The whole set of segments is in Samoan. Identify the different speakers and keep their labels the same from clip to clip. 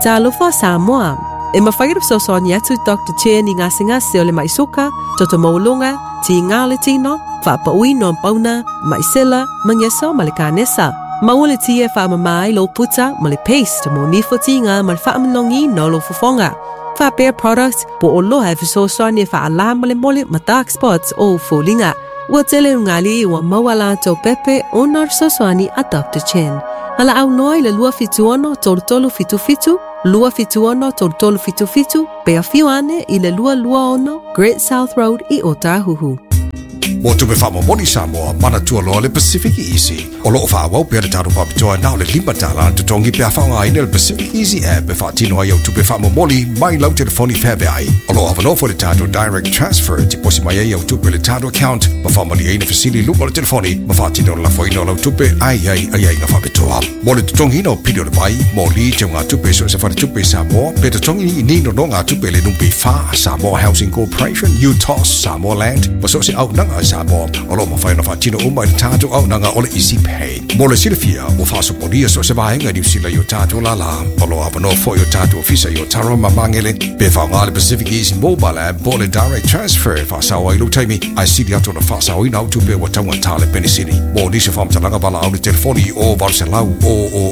Speaker 1: Talofa Samoa. E mafai ona fesoasoani atu Doctor Chen i gasegase o le mai suka, toto maualuga, tiga o le tino, faapauina o pauna, mai sela, mageso ma le kanesa. Maua le ti e faamama ai lou puta ma le paste mo nifo tiga ma le faamanogiina o lou fofoga. Faapea product po o oloa e fesoasoani e faalā molemole ma dark spots o ou foliga. Ua tele ugali ua maua latou pepe ona o le fesoasoani a Doctor Chen. Valaau loa i le 276 3377, 276 3377, pe afio ane i le 226 Great South Road i Ōtāhuhu.
Speaker 2: Mo tupe faamomoli Samoa, manatua loa le Pacific Easy. O lo o faaauau pea le tatou faapitoa na o le $5 le totogi pe a faaaogaina le Pacific Easy app e faatino ai au tupe faamomoli mai lau telefoni feaveai. O lo o avanoa foi le tatou Direct Transfer e tiposi mai ai au tupe i le tatou account ma faamalieina fesili i luga o le telefoni ma faatino le lafoina o lau tupe a i ai aiaiga faapitoa. Mo le totogiina o pili o le vai, moli, teugatupe i so o se faletupe i Samoa, pe totogi i ni nonogatupe i le NPF, Samoa Housing Corporation, UTOS, Samoa Land, ma so o se auaunaga a Samoa, o lo o mafai ona faatino uma i le tatou auaunaga o le Easy Pay. Mo le silafia, ua faasopolia so o se vaega i Niu Sila i o tatou lālā. O lo o avanoa foi o tatou ofisa i Otaru ma Magele, pe faaaoga le Pacific Easy Mobile App po o le Direct Transfer e faasao ai lou taimi, ae sili atu ona faasaoina au tupe ua taugata le penisini. Mo nisi o faamatalaga valaau le telefoni i o 800 000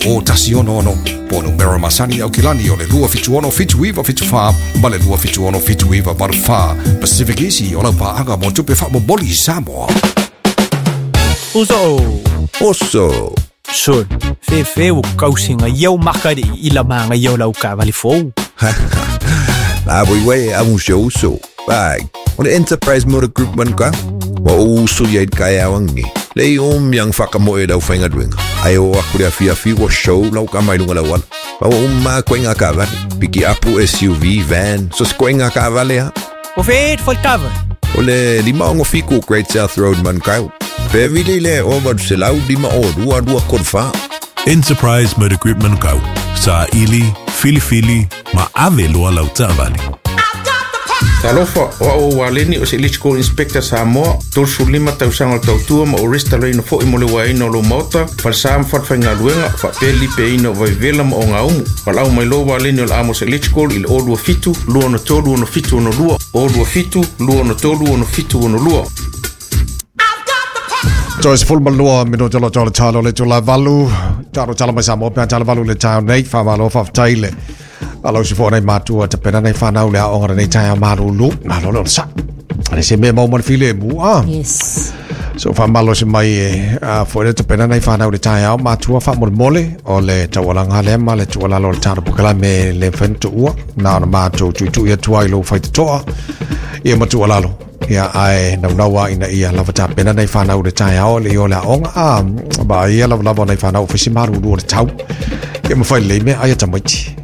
Speaker 2: 166 po o numera masani i Aukilani o le 276 7974 ma le 276 7984. Pacific Easy o lau paaga mo tupe faamomoli i Samoa.
Speaker 3: Uso.
Speaker 4: Oso.
Speaker 3: Sol, fefe o kausinga iau makari i la manga iau lau kavali fou.
Speaker 4: La voi wei a un show so. Bag. O le Enterprise Motor Group man ka. Wa o uso ia i kai awangi. Le i om yang whakamoe lau whainga duenga. Ai o aku le awhi awhi wa show lau ka mai lunga lau ala. Pa wa umma koe ngā kavale. Piki apu SUV, van, so se koe ngā kavale ha.
Speaker 3: O whēt whai tava.
Speaker 4: O le lima ongo fiku Great South Road man kau. Pe vili le o valu se lau lima o lua lua kolu wha.
Speaker 5: Enterprise Motor Group Manukau, sa ili, filifili, ma ave loa lau taavale.
Speaker 6: Talofa, o au o Waleni o se Electrical Inspector Samoa, 35 tausaga o le tautua ma o restalaina foi mo le uaeina o lou maota, falesa ma falefaigaluega, faapea le lipeaina o vaivela ma ogaumu. Valaau mai loa Waleni o le Amos Electrical i le 027 263 6762, 027 263 6762.
Speaker 2: Toe 12 minute lo tolo talo le tula valu talo talo mai Samoa pe talo valu le tau nei whamalo whaftai le alo si fo nei matua te pena nei whanau le aonga nei tai a marulu malo le sa le se me mau file mu ah
Speaker 7: Yes.
Speaker 2: So whamalo se mai e a fo le te pena nei whanau le tai ao matua wha mole mole o le taualanga le ma le tualalo le talo pukala me le whentu ua na ona mātou tui tui atua i lo whai te toa ia matua lalo ia ae naunaua ina ia lava tapena nei whanau le taeao le i o le aoga a ba ia lava lava nei whanau fai si maruru o le tau ia mawhai lei mea aia tamaiti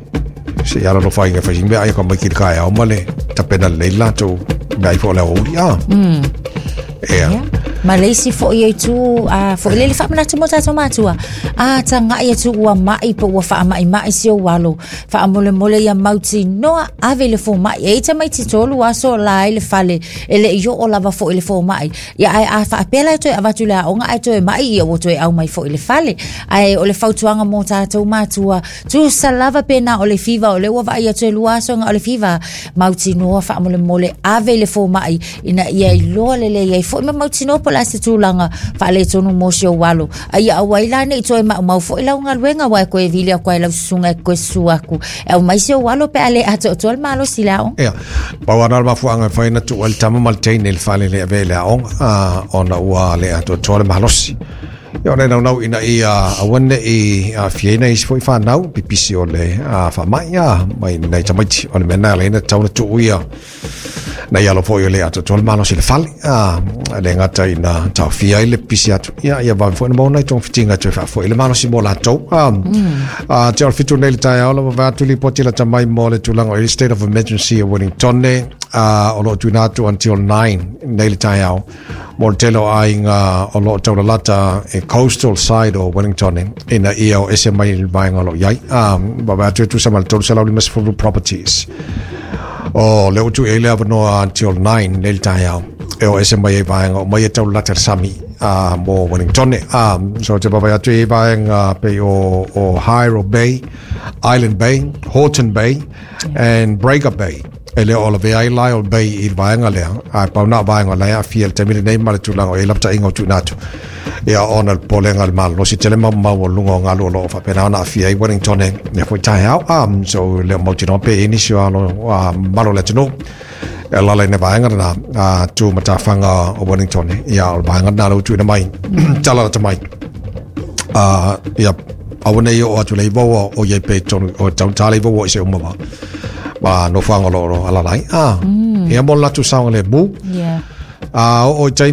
Speaker 2: se ia lalo whai inga whai mea aia ka mai ki le kaeao ma le tapena lei latou mea ifo o le aoauli a Ea.
Speaker 7: Yeah. Ma le isi foi e tu a foi le faamanatu mo tatou matua a taga'i atu ua ma'i po ua faama'ima'i si ou alo faamolemole ia mautinoa ave i le foma'i e i tamaiti tolu aso la ai le fale e le'i oo lava fo'i le foma'i ia ae a faapea la e toe avatu i le aoga ae toe ma'i ia ua toe au mai fo'i le fale ae o le fautuaga mo tatou matua tusa lava pena o le fiva o le ua vaai atu e lua aso ga o le fiva mautinoa faamolemole ave i le foma'i ina ia iloa lelei ai fo'i ma mautinoa po o le a se tulaga faaletonu mo si ou alo. A ia aua ai la nei toe maumau fo'i lau galuega aua e koe vili aku ai lau susuga e koe susu aku e aumai si ou alo pe a le atoatoa le malosi i le aoga.
Speaker 2: Ia, pau ana o le mafuaaga e fai ona tuu ai le tama ma le teine i le fale le avea i le aoga, a, ona ua le atoatoa le malosi. Ia, ona e naunau ina ia aua ne i aafia ai isi foi fanau, pipisi o le faamai, a, mai nai tamaiti. O le mea lena e ala ai ona tatau ona tuu ia Nei alo foi o le atoatoa le malosi i le fale, a le gata ina taofia ai le pisi atu, ia, ia vave foi ona maua nai togafitiga e toe faafoi le malosi mo latou. A, a te o le 7 nei le taeao lava vae atu lipoti lata mai mo le tulaga o i state of emergency e Wellington, a, o lo o tuuina atu until 9 nei le taeao mo le tele o aiga o lo o taulalata e coastal side o Wellington ina ia o ese mai le vaega o lo o i ai. A, vae atu e tusa ma le 350 properties. O lea ua tuu i ai le avanoa until 9 nei le taeao e o ese mai ai vaega o mai e taulalata le sami. Mo Wellington so te vaavaai atu i vaega pei o Hiro Bay, Island Bay, Horton Bay and Breaker Bay. E le o lavea ai Lyall Bay i le vaega lea, ae pau na o vaega o la e aafia i le taimi lenei ma le tulaga o i ai lapataiga o tuuina atu. Ia ona o le popolega i le malolosi tele ma maualuluga o galu o lo o faapena ona aafia ai Wellington i lea foi taeao. So e le o mautinoa pe i ai nisi o alo mamalu o le atunuu e alaala i le vaega lena tu matafaga o Wellington. Ia o le vaega lena ua tuuina mai tala lata mai. Ia aua nei oo atu le iva ua o iai pe tonu o taugata le iva ua i se uma ma ma nofoaga o lo o alaala ai. Ia mo le latou saogalemu.
Speaker 7: Yeah.
Speaker 2: Oo i tai.